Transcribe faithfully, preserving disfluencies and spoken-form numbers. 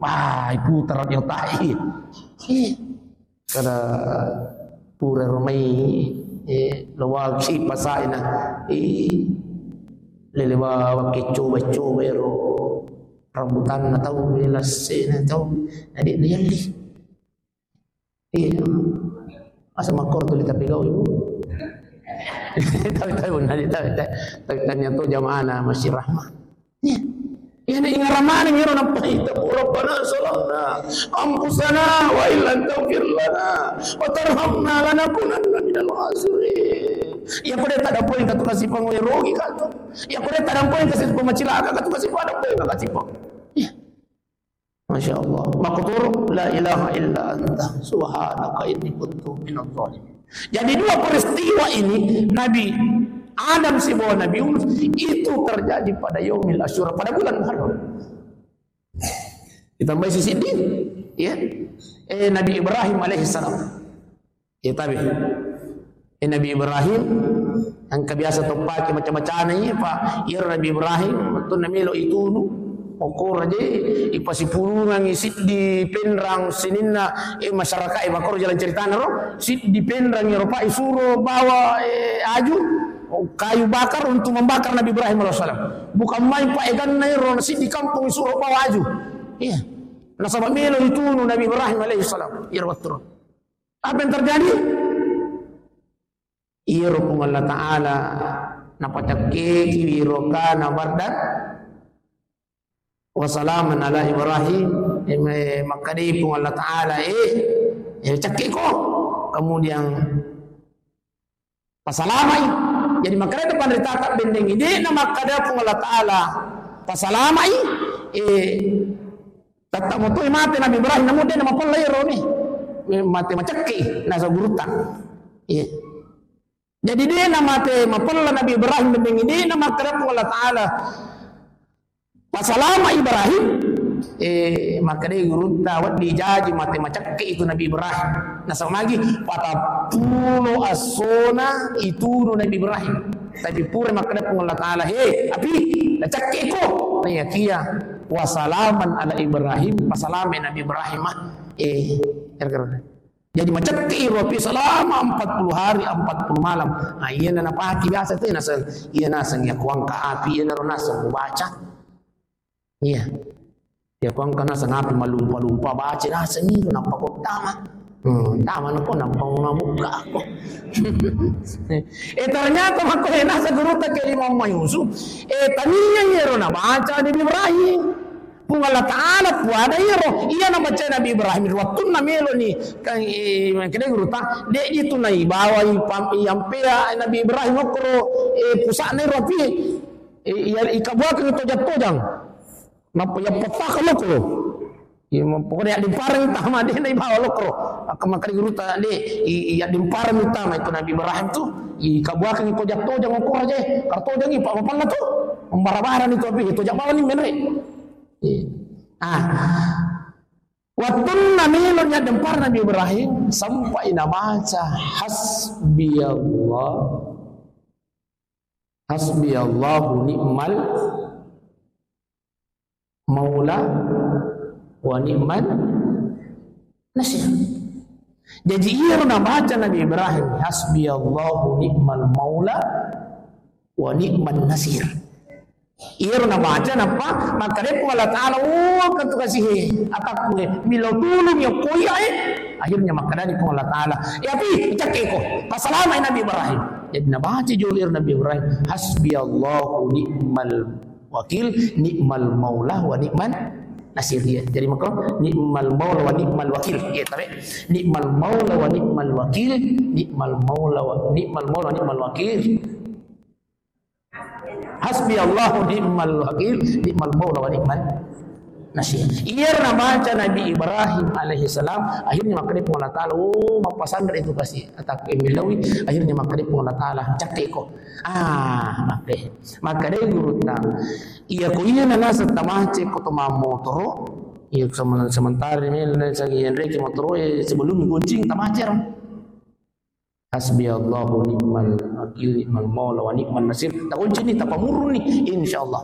Wah, iputara di otak. Ih. Kada pura romai, eh, lawaki pasaina. Ih. Lele bawa kecoba-coba ero. Rambutanna tau, lassena tau. Jadi lihat deh. Iya. Asa makkoro tuli tapigau, Ibu. Tapi, tapi, benar, tapi, tapi, tapi, ternyata jamaahna masih rahmah. Iya. Iya, ini ingaramane ngiro nappa itu. Rabbana zalamna anfusana wa illam taghfir lana wa tarhamna lanakunanna minal khasirin. Iya, pada tak ada poin katu kasih pangwe rogi katu. Iya, pada tak ada poin kasih pemacilaka katu kasih pada poin kasih pang. Iya. Masya Allah. Makkutoro, "La ilaha illa anta, subhanaka inni kuntu minadh dhalimin." Jadi dua peristiwa ini, Nabi Adam sibawa Nabi Yunus, itu terjadi pada Yaumil Asyura, pada bulan Muharram. Ditambahi si Siddiq, ya. Eh, Nabi Ibrahim alaihissalam. Iya, tabe. Eh, Nabi Ibrahim, engka biasa toppaki macam-macamna, iya, Pak. Iya, Nabi Ibrahim, wettunna melo itunu, okkoro je, ipasipulungangi siddi penrang sininna, eh, masyarakat, eh, makkoro jalan ceritana ro, siddi penrang ero, Pak, isuro bawa, eh, aju, oh, kayu bakar untuk membakar Nabi Ibrahim alaihissalam. Bukan main, Pak, eganna ero, siddi kampung isuro bawa aju. Iya. Nasaba melo itunu Nabi Ibrahim alaihissalam. Iya, wettu ro. Apa yang terjadi? Iyaro Puang Allah Ta'ala napacakkeki wiro kana bardan wa salaman ala Ibrahim. Eh, me-, makkadai Puang Allah Ta'ala, eh, eh, cakkeko. Kemudian pasalamai. Jadi makkada panritata bendengi, de' na makkada Puang Allah Ta'ala pasalamai, eh, Tatta motoi mate Nabi Ibrahim, namu de' namapella iyaro ni. Mate macakke, nasa gurutta. Iya. Jadi de' namate mapella Nabi Ibrahim, bendengi de' namakkada Puang Allah Ta'ala pasalama Ibrahim. Eh, makkadai gurutta, wedding jaji mate macakke itu Nabi Ibrahim. Nasaba magi, patappulo essona itunu Nabi Ibrahim. Tapi pura makkada Puang Allah Ta'ala, "He, api, nacakkeko." Naiyakia, "Wasalaman ala Ibrahim," pasalamai Nabi Ibrahim, ah. Eh, kira-kira. Jadi, macakke iro api selama empat puluh hari, empat puluh malam. Ah, iya na napaki biasa tu, naseng, iya naseng iya kuangka api, iya naro naseng mubaca. Iya. Iya, ko engka naseng api malumpa-lumpa baca naseng itu, nappa ko tama. Hmm, tama nako, nappa mabukka ko. Eh, ternyata makko, eh, naseng gurutta ke Imam Yusuf. Eh, tania iyaro nabaca Nabi Ibrahim. Puang Allah Ta'ala puada iyaro. Iya nabaca Nabi Ibrahim. Wattunna melo ni, kan, eh, kedai gurutta. De' itu naibawai pam-, iyampea Nabi Ibrahim okkoro, eh, pusa'na iro api. Eh, iya, ikabuakeng tojang-tojang. Nappa iya pattaka lokro. Iya, ma-, pokoknya yaddimpareng tama, de' naibawa lokro. Akka makkeda gurutta, de', i-, i-, yaddimpareng tama itu Nabi Ibrahim tu, ikabuakeng tojang-tojang okko aja, kartojang i, pa-, mapella tu. Membara-bara ni tu api, tojang bawang ni menre. Iya. Ah. Wattunna melo ni yaddimpareng Nabi Ibrahim, sampai nabaca, "Hasbiyallah." Hasbiyallahu ni'mal maula wa ni'man nasir. Jadi, iyaro nabaca Nabi Ibrahim, "Hasbiyallahu ni'mal maula wa ni'man nasir." Iyaro nabaca, nappa makkeda Puang Allah Ta'ala, "Oh, engka tu kasihe, atakku e, milo tulung ya koi ae." Akhirnya makkedani Puang Allah Ta'ala, "Ya pi, cakkeko, pasalamai Nabi Ibrahim." Jadi nabaca jolo iyaro Nabi Ibrahim, "Hasbiyallahu ni'mal wakil, ni'mal maula wa ni'man nasir." Iya. Jadi maka ni'mal maula wa ni'mal wakil. Iya, tabe. Ni'mal maula wa ni'mal wakil, ni'mal maula wa, ni'mal maula wa ni'mal wakil. Hasbiyallahu ni'mal wakil, ni'mal maula wa ni'man nasir. Iyaro nabaca Nabi Ibrahim alaihissalam, akhirnya makkeda Puang Allah Ta'ala, "Oh, mappasanre itu pasti." Atakku e millaui, akhirnya makkeda Puang Allah Ta'ala, "Cakkeko." Ah, makkeda. Makkeda gurutta, "Iya ko iya na naseng tamace ko to mammotoro, iya semen-, sementara ini, ini sagi enreki motoro, eh, sebelum gonceng tamace ro." Hasbiyallahu ni'mal wakil, ni'mal maula wa ni'man nasir. Takunci ni, tapamurru ni, insyaallah.